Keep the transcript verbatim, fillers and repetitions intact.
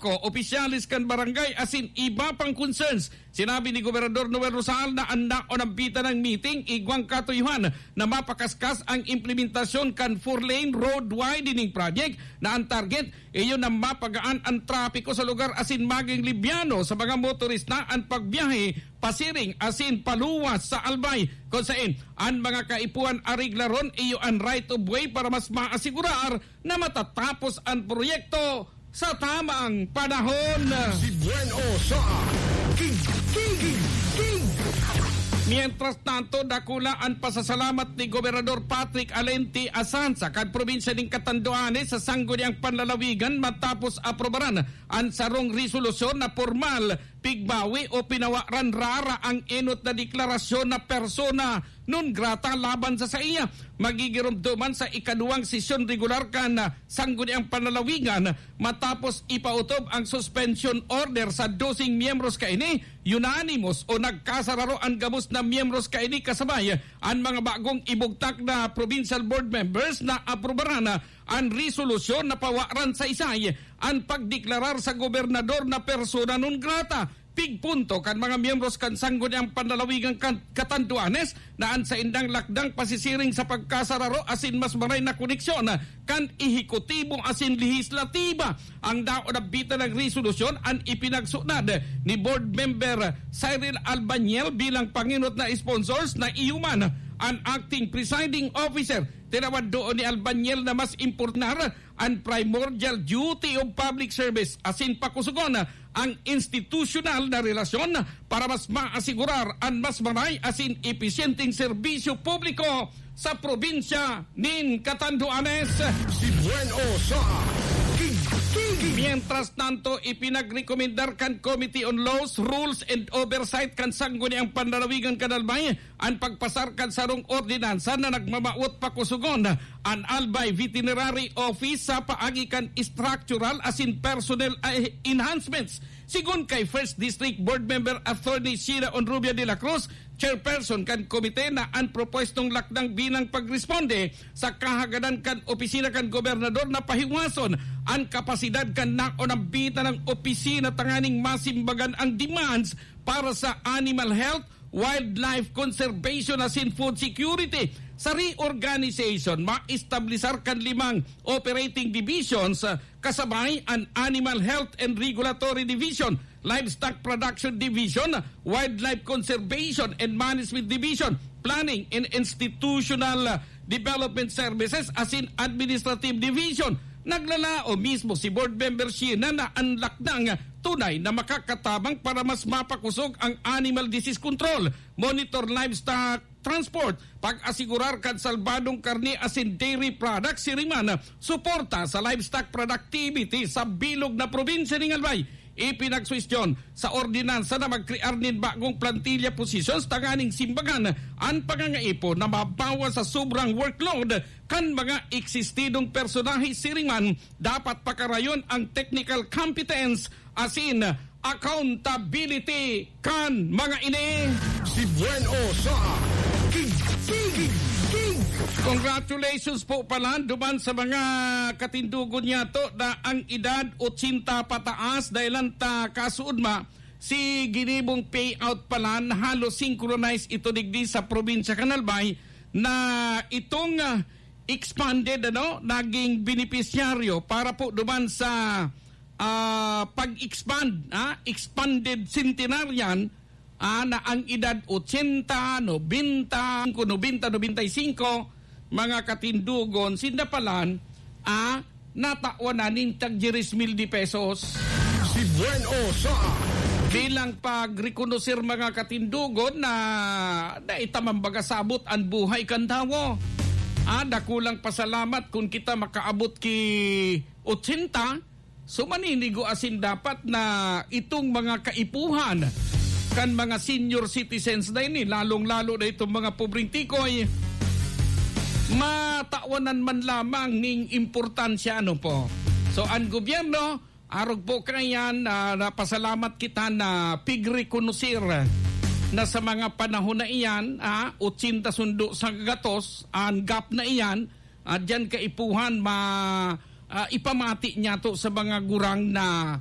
Ko, opisyales kan barangay asin iba pang concerns. Sinabi ni Gobernador Noel Rosal na an naon ang bita ng meeting igwang katuyohan na mapakaskas ang implementasyon kan four-lane road widening project na ang target iyo na mapagaan ang trapiko sa lugar asin maging libyano sa mga motorista ang pagbiyahe pasiring asin paluwas sa Albay. Kung sain, ang mga kaipuhan areglaron iyo ang right of way para mas maasigurar na matatapos ang proyekto sa tamang panahon. Si Buen O sa King, King, King, King. Mientras tanto, dakula ang pasasalamat ni Gobernador Patrick Alenti Asansa kan probinsya nin Catanduanes sa sangguniang panlalawigan matapos aprobaran ang sarong resolusyon na pormal pigbawi o pinawaran rara ang enot na deklarasyon na persona non grata laban sa saiya. Magigiromdoman sa ikaduwang sesyon regular kan, ah, sangguniang panlalawigan matapos ipautob ang suspension order sa doseng miyembros kaini. Unanimous o nagkasararo an gabos na miyembros kaini kasabay an mga bagong ibugtak na provincial board members na aprubaran an resolusyon na pawaran sa isay an pagdeklarar sa gobernador na persona non grata. Pigpunto kan mga miyembros kan sangguniang panlalawigan kan Catanduanes na an saindang lakdang pasisiring sa pagkasararo asin mas maray na koneksyon kan ehekutibo asin lehislatiba ang daon na bita ng resolusyon an ipinagsunod ni Board Member Cyril Albaniel bilang pangenot na sponsors na iyo man an acting presiding officer. Tinawad doon ni Albaniel na mas importante an primordial duty of public service asin pakusugon ang institusyonal na relasyon para mas maasigurar an mas maray asin episyenteng serbisyo publiko sa probinsya nin Catanduanes. Si Buen O sa King, King, King. Mientras tanto, ipinagrekomendar kan Committee on Laws, Rules and Oversight kan Sangguniang Panlalawigan kan Albay an pagpasar kan sarong ordinansa na nagmamawot pakusugon an Albay Veterinary Office sa paagi kan structural asin personnel, ah, enhancements. Sigon kay First District Board Member Attorney Sheila Onrubia de la Cruz, chairperson kan komite, na an propwestong lakdang bilang pagresponde sa kahagadan kan opisina kan gobernador na pahiwason an kapasidad kan naon ang bita ng opisina tanganing masimbagan ang demands para sa animal health, wildlife conservation asin food security. Sa reorganization, maestablisar kan limang operating divisions, ah, kasabay an Animal Health and Regulatory Division, Livestock Production Division, Wildlife Conservation and Management Division, Planning and Institutional, ah, Development Services asin Administrative Division. Naglalaom mismo si Board Member Sheena na an lakdang tunay na makakatabang para mas mapakosog ang animal disease control, monitor livestock transport, pag-asigurar kan salbadong karne asin dairy products, siring man suporta sa livestock productivity sa bilog na probinsya ning Albay. Ipinagsuhestyon sa ordinansa na magkrear nin bagong plantilla positions tanganing simbagan an pangangaipo na mabawas sa sobrang workload kan mga eksistidong personahe. Siring man, dapat pakarayon ang technical competence asin accountability kan mga ini. Si Buen O sa King, King, King. Congratulations po pala duman sa mga katindugon niyato na ang edad ochenta pataas, dahil lang ta kasuodma si ginibong payout pala na halos synchronize ito digdi sa probinsya kan Albay na itong, ah, expanded, ano, naging benepisyaryo para po duman sa, ah, pag-expand, ah, expanded centenarian, ah, na ang edad ochenta, nobenta, nobenta, nobenta y cinco, mga katindugon, sinda palan, ah, natawan na nin tag diyes mil de pesos. Si Buen O sa Bilang pagrekonoser, mga katindugon, na, na itamang baga sabot ang buhay kan tawo. Ah, dakulang pasalamat kun kita makaabot ki ochenta, so maninigo asin dapat na itong mga kaipuhan kan mga senior citizens na ini, lalong-lalo na itong mga pobreng tikoy, matawanan man lamang ning importansya, ano po. So, ang gobyerno, arog po kaiyan, ah, napasalamat kita na pigrekonoser na sa mga panahon na iyan, ah, ochenta sundo sa gatos, ang gap na iyan, ah, diyan kaipuhan ma-, ah, ipamati niyato sa mga gurang na